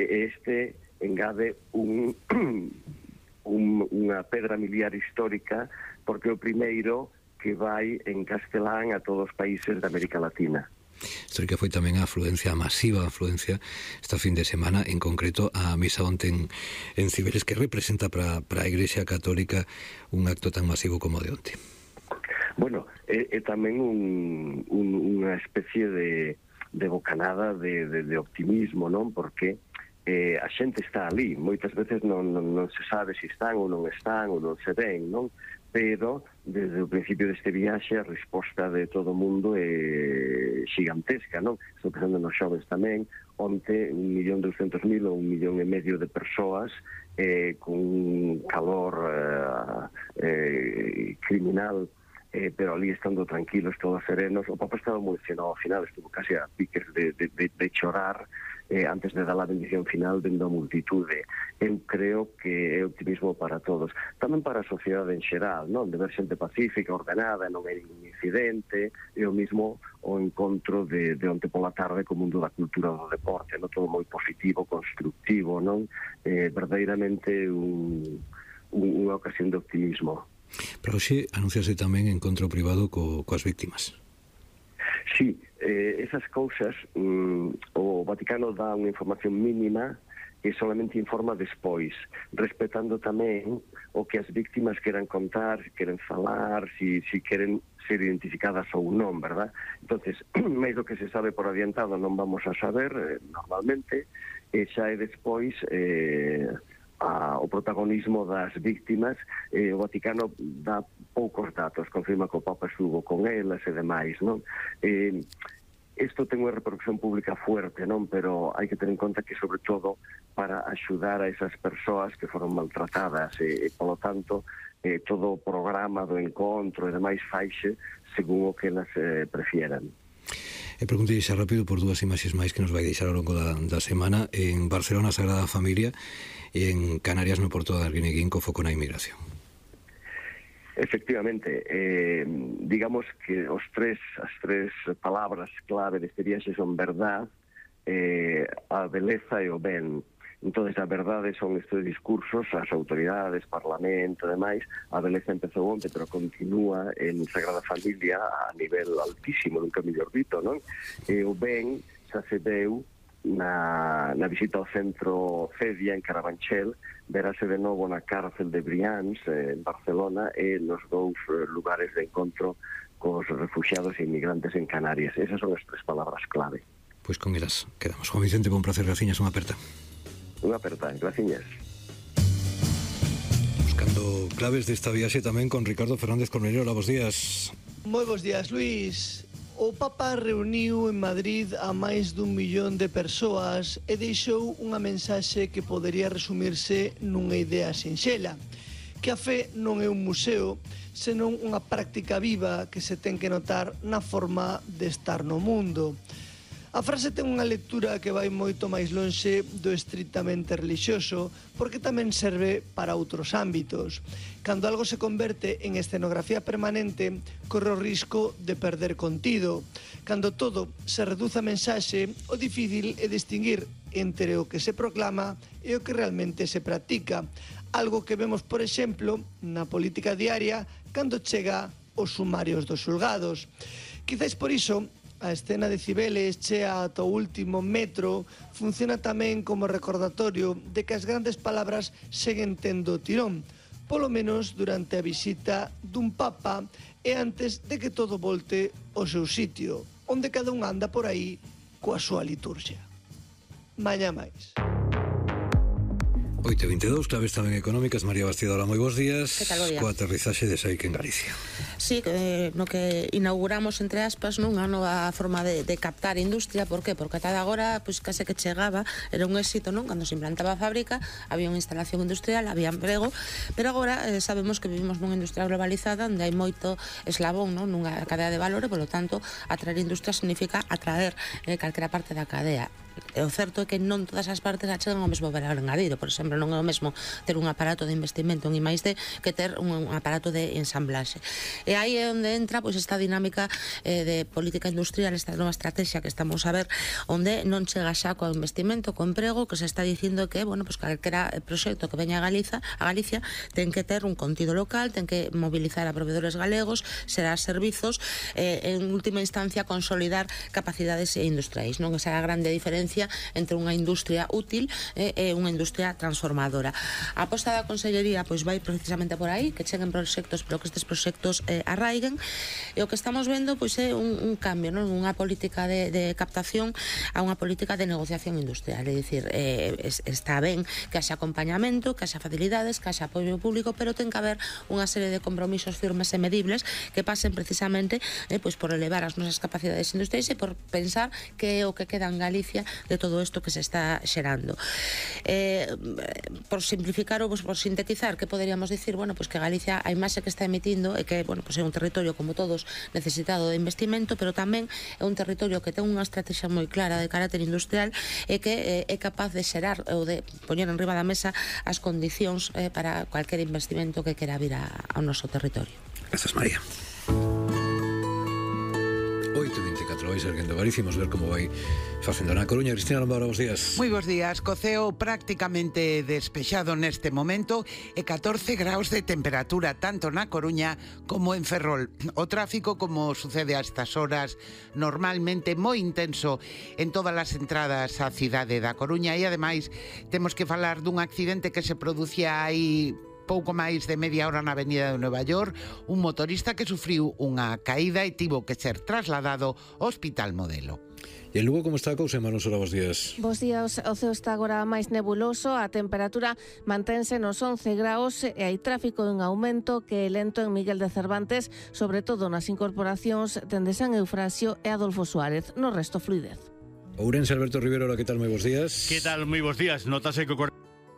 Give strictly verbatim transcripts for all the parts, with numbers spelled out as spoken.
e este engade un, un, unha pedra miliar histórica, porque é o primeiro que vai en castelán a todos os países da América Latina. Histórica foi tamén a afluencia, a masiva afluencia esta fin de semana, en concreto a misa onte en, en Cibeles, que representa para a Igrexa Católica un acto tan masivo como de onte. Bueno, é, é tamén un, un, unha especie de, de bocanada de, de, de optimismo, non? Porque eh, a xente está ali, moitas veces non, non, non se sabe se están ou non están ou non se ven, non? Pero desde o principio deste viaxe a resposta de todo o mundo é gigantesca, non? Estou pensando nos xovens tamén, onte un millón doscientos mil ou un millón e medio de persoas eh, con calor eh, eh, criminal, eh, pero ali estando tranquilos, todos serenos. O Papa estaba moi emocionado ao final, estuvo casi a piques de, de, de, de chorar eh, antes de dar a bendición final dentro da multitude. Eu creo que é optimismo para todos, tamén para a sociedade en xeral, non? De ver xente pacífica, ordenada, non hai ningún incidente, e o mismo o encontro de, de onte pola tarde co mundo da cultura do deporte, non? Todo moi positivo, constructivo, non? Eh, verdadeiramente un, un, unha ocasión de optimismo. Pero hoxe anunciase tamén encontro privado co, coas víctimas. Sí, eh, esas cousas, mm, o Vaticano dá unha información mínima e solamente informa despois, respetando tamén o que as víctimas queran contar, se queren falar, si, si queren ser identificadas ou non, verdad? Entonces, máis do que se sabe por adiantado non vamos a saber, eh, normalmente, e xa é despois eh, a, o protagonismo das víctimas. eh, o Vaticano dá poucos datos, confirma que o Papa estuvo con elas e demais, non? Eh, Isto ten unha repercusión pública fuerte, non? Pero hai que ter en conta que, sobre todo, para axudar a esas persoas que foron maltratadas e, e polo tanto, eh, todo o programa do encontro e demais faixe según o que elas eh, prefieran. E preguntei xa rápido por dúas imaxes máis que nos vai deixar ao longo da, da semana. En Barcelona, Sagrada Familia, e en Canarias, no Porto de Arguineguín, co foco na inmigración. Efectivamente, eh, digamos que os tres, as tres palabras clave deste viaxe son verdad, eh, a beleza e o ben. Entón, a verdade son estes discursos, as autoridades, parlamento e demais. A beleza empezou onte, pero continúa en Sagrada Familia a nivel altísimo, nunca mellor dito, non? E o ben xa se deu na, na visita ao centro Cedia en Carabanchel, verase de novo na cárcel de Brians eh, en Barcelona e nos dous eh, lugares de encontro cos refugiados e inmigrantes en Canarias. Esas son as tres palabras clave. Pois con elas quedamos. Juan Vicente, bon placer, graciñas, unha aperta. Unha aperta, graciñas. Buscando claves desta viaxe tamén con Ricardo Fernández Cornelio. Hola, bos días. Moi bos días, Luís. O Papa reuniu en Madrid a máis dun millón de persoas e deixou unha mensaxe que podería resumirse nunha idea sinxela, que a fe non é un museo, senón unha práctica viva que se ten que notar na forma de estar no mundo. A frase ten unha lectura que vai moito máis lonxe do estritamente relixioso, porque tamén serve para outros ámbitos. Cando algo se converte en escenografía permanente, corre o risco de perder contido. Cando todo se reduce a mensaxe, o difícil é distinguir entre o que se proclama e o que realmente se practica. Algo que vemos, por exemplo, na política diaria cando chega os sumarios dos xulgados. Quizáis por iso, a escena de Cibeles chea ata o último metro funciona tamén como recordatorio de que as grandes palabras seguen tendo tirón, polo menos durante a visita dun Papa e antes de que todo volte ao seu sitio, onde cada un anda por aí coa súa liturgia. Mañá máis. oito e vinte e dous, claves tamén económicas. María Bastidora, moi bons días. Que tal, bo día? Coa aterrizaxe de Saic en Galicia. Sí, eh, no que inauguramos, entre aspas, nunha nova forma de, de captar industria. Por que? Porque ata agora, pois, case que chegaba, era un éxito, non? Cando se implantaba a fábrica, había unha instalación industrial, había emprego, pero agora eh, sabemos que vivimos nunha industria globalizada onde hai moito eslabón, non? Nunha cadea de valor e, polo tanto, atraer industria significa atraer eh, calquera parte da cadea. o certo é que non todas as partes achegan ao mesmo valor engadido. Por exemplo, non é o mesmo ter un aparato de investimento en I máis D que ter un, un aparato de ensamblaxe. E aí é onde entra pois, esta dinámica eh, de política industrial, esta nova estrategia que estamos a ver, onde non chega xa co investimento, co emprego, que se está dicindo que, bueno, pues calquera proxecto que veña a Galiza, a Galicia, ten que ter un contido local, ten que mobilizar a proveedores galegos, será servizos, eh, en última instancia consolidar capacidades industriais, non? Esa é a grande diferencia entre unha industria útil eh, e unha industria transformadora. A aposta da Consellería pois vai precisamente por aí, que cheguen proxectos, pero que estes proxectos eh, arraiguen, e o que estamos vendo pois é un, un cambio, non? Unha política de, de captación a unha política de negociación industrial, é dicir, eh, está ben que haxa acompañamento, que haxa facilidades, que haxa apoio público, pero ten que haber unha serie de compromisos firmes e medibles que pasen precisamente eh, pois por elevar as nosas capacidades industriais e por pensar que é o que queda en Galicia de todo isto que se está xerando. Eh, por simplificar ou por sintetizar, que poderíamos dicir? Bueno, pois que Galicia a imaxe que está emitindo é que, bueno, pois é un territorio como todos necesitado de investimento, pero tamén é un territorio que ten unha estrategia moi clara de carácter industrial e que eh, é capaz de xerar ou de poñer en riba da mesa as condicións eh, para cualquier investimento que quera vir a, ao noso territorio. Grazas, María. oito e veinticuatro, vai serguendo Galicia, imos ver como vai facendo na Coruña. Cristina Lombora, bons días. Moi bons días, co ceo prácticamente despexado neste momento e catorce graus de temperatura tanto na Coruña como en Ferrol. O tráfico, como sucede a estas horas, normalmente moi intenso en todas as entradas á cidade da Coruña, e ademais temos que falar dun accidente que se producía aí pouco máis de media hora na avenida de Nova York, un motorista que sufriu unha caída e tivo que ser trasladado ao Hospital Modelo. E en Lugo como está a cousa, Manon Sora, bons días. Bos días, o ceo está agora máis nebuloso, a temperatura mantense nos once graus e hai tráfico en aumento que é lento en Miguel de Cervantes, sobre todo nas incorporacións dende San Eufrasio e Adolfo Suárez, no resto fluidez. Ourense, Alberto Rivero, hola, que tal, moi bons días. Que tal, moi bons días, notase que o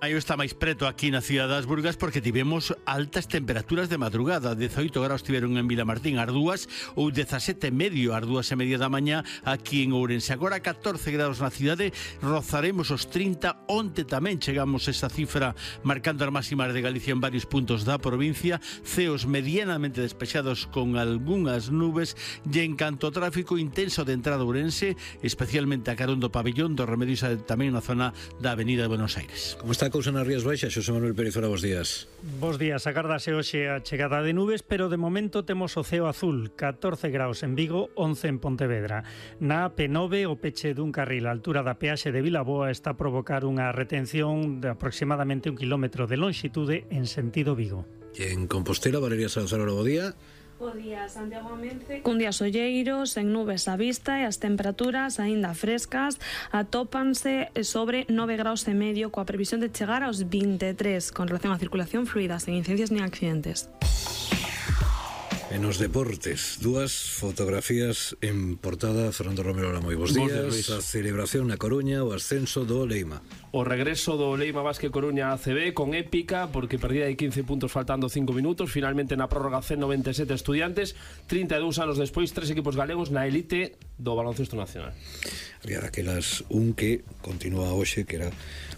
Aí está máis preto aquí na cidade das Burgas porque tivemos altas temperaturas de madrugada. dezaoito graus tiveron en Vilamartín ás dúas ou dezasete e medio ás dúas e media da mañá aquí en Ourense. Agora catorce graus na cidade, rozaremos os trinta. Onte tamén chegamos a esa cifra marcando as máximas de Galicia en varios puntos da provincia. Ceos medianamente despexados con algunhas nubes e en canto ao tráfico intenso de entrada a Ourense, especialmente a carón do Pabellón do Remedios tamén na zona da Avenida de Buenos Aires. Como está a cousa nas Rías Baixas, Xosé Manuel Pérez, ora, bons días. Bos días, agardase hoxe a chegada de nubes, pero de momento temos o ceo azul, catorce graus en Vigo, once en Pontevedra. Na A P nove, o peche dun carril á altura da peaxe de Vilaboa está a provocar unha retención de aproximadamente un kilómetro de longitude en sentido Vigo. E en Compostela, Valeria Salazar, ora, bo día. Bo día, Santiago Amense, cun día solleiros, en nubes á vista e as temperaturas aínda frescas atópanse sobre nove graus e medio coa previsión de chegar aos vinte e tres con relación á circulación fluida, sen incidencias nin accidentes. En os deportes, dúas fotografías en portada. Fernando Romero, moi bons días. A celebración na Coruña, o ascenso do Leima. O regreso do Leima Basque Coruña A C B con épica, porque perdía de quince puntos faltando cinco minutos. Finalmente na prórroga C noventa e sete Estudiantes, trinta e dous anos despois, tres equipos galegos na elite do baloncesto nacional. Había daquelas un que continúa hoxe, que era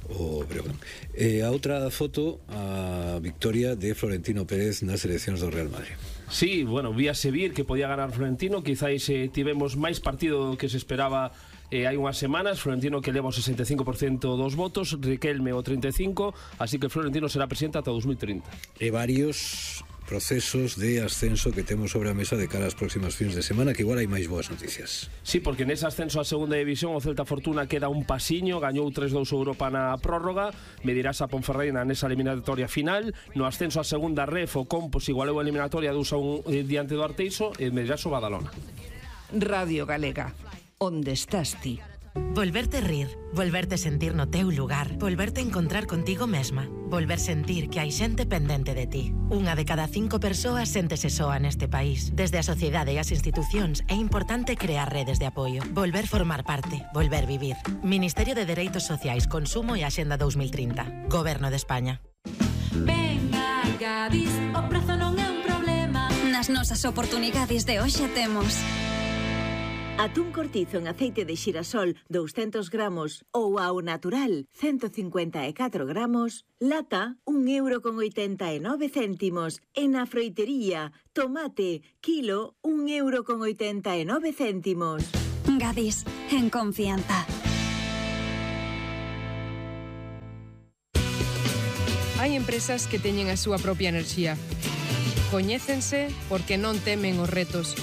o Breogán. E a outra foto, a victoria de Florentino Pérez nas eleccións do Real Madrid. Sí, bueno, víase vir que podía ganar Florentino. Quizáis eh, tivemos máis partido do que se esperaba eh, hai unhas semanas. Florentino que leva o sesenta e cinco por cento dos votos, Riquelme o trinta e cinco por cento, así que Florentino será presidente ata dos mil trinta. E varios procesos de ascenso que temos sobre a mesa de cara ás próximas fins de semana, que igual hai máis boas noticias. Sí, porque nese ascenso á segunda división o Celta Fortuna queda un pasiño, gañou tres dous Europa na prórroga, medirás a Ponferreina nesa eliminatoria final. No ascenso á segunda ref o Compos igualou a eliminatoria dous a un eh, diante do Arteixo e medirás o Badalona. Radio Galega, onde estás ti? Volverte rir, volverte sentir no teu lugar, volverte encontrar contigo mesma, volver sentir que hai xente pendente de ti. Unha de cada cinco persoas séntese soa neste país. Desde a sociedade e as institucións é importante crear redes de apoio, volver formar parte, volver vivir. Ministerio de Dereitos Sociais, Consumo e Axenda dos mil trinta. Goberno de España. Venga, Gadis, o prezo non é un problema. Nas nosas oportunidades de hoxe temos Atún cortizo en aceite de xirasol doscientos gramos ou ao natural ciento cincuenta e catro gramos, lata un euro con oitenta e nove céntimos. E na froitería, tomate, kilo un euro con oitenta e nove céntimos. Gadis, en confianza. Hai empresas que teñen a súa propia enerxía. Coñécense porque non temen os retos.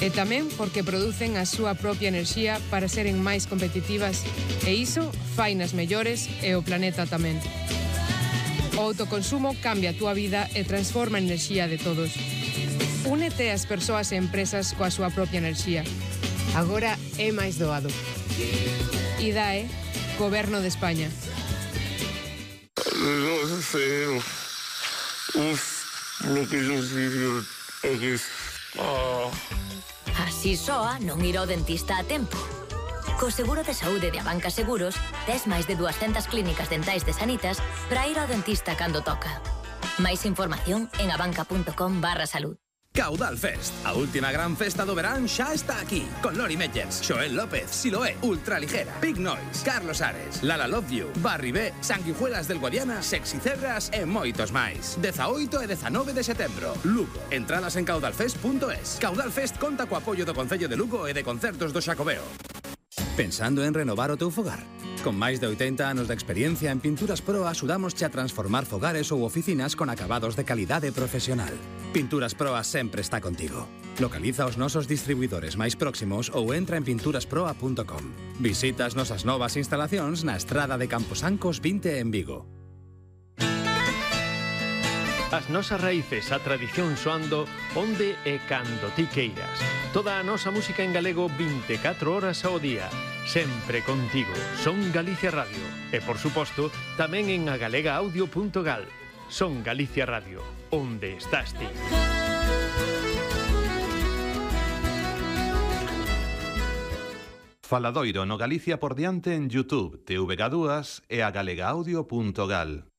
E tamén porque producen a súa propia enerxía para seren máis competitivas e iso fainas mellores e o planeta tamén. O autoconsumo cambia a túa vida e transforma a enerxía de todos. Únete ás persoas e empresas coa súa propia enerxía. Agora é máis doado. I D A E, Goberno de España. Non sei, uf, lo que non sei é que... Así soa non ir ao dentista a tempo. Co seguro de saúde de Abanca Seguros, tes máis de dúascentas clínicas dentais de Sanitas para ir ao dentista cando toca. Máis información en abanca.com barra salud. Caudal Fest, a última gran festa do verán xa está aquí, con Lori Meyers, Xoel López, Siloé, Ultraligera, Big Noise, Carlos Ares, Lala Love You, Barry B, Sanguijuelas del Guadiana, Sexy Cebras e moitos máis. dezaoito e dezanove de setembro, Lugo. Entradas en caudalfest punto es. Caudal Fest conta co apoio do Concello de Lugo e de Concertos do Xacobeo. Pensando en renovar o teu fogar? Con máis de oitenta anos de experiencia en Pinturas Pro axudámosche a transformar fogares ou oficinas con acabados de calidade profesional. Pinturas Pro sempre está contigo. Localiza os nosos distribuidores máis próximos ou entra en pinturas proa punto com. Visita as nosas novas instalacións na estrada de Camposancos vinte en Vigo. As nosas raíces, a tradición soando onde e cando ti queiras. Toda a nosa música en galego vinte e catro horas ao día. Sempre contigo. Son Galicia Radio. E, por suposto, tamén en agalega-audio punto gal. Son Galicia Radio. Onde estás ti? Faladoiro no Galicia por diante en YouTube, T V G dúas e agalega audio punto gal.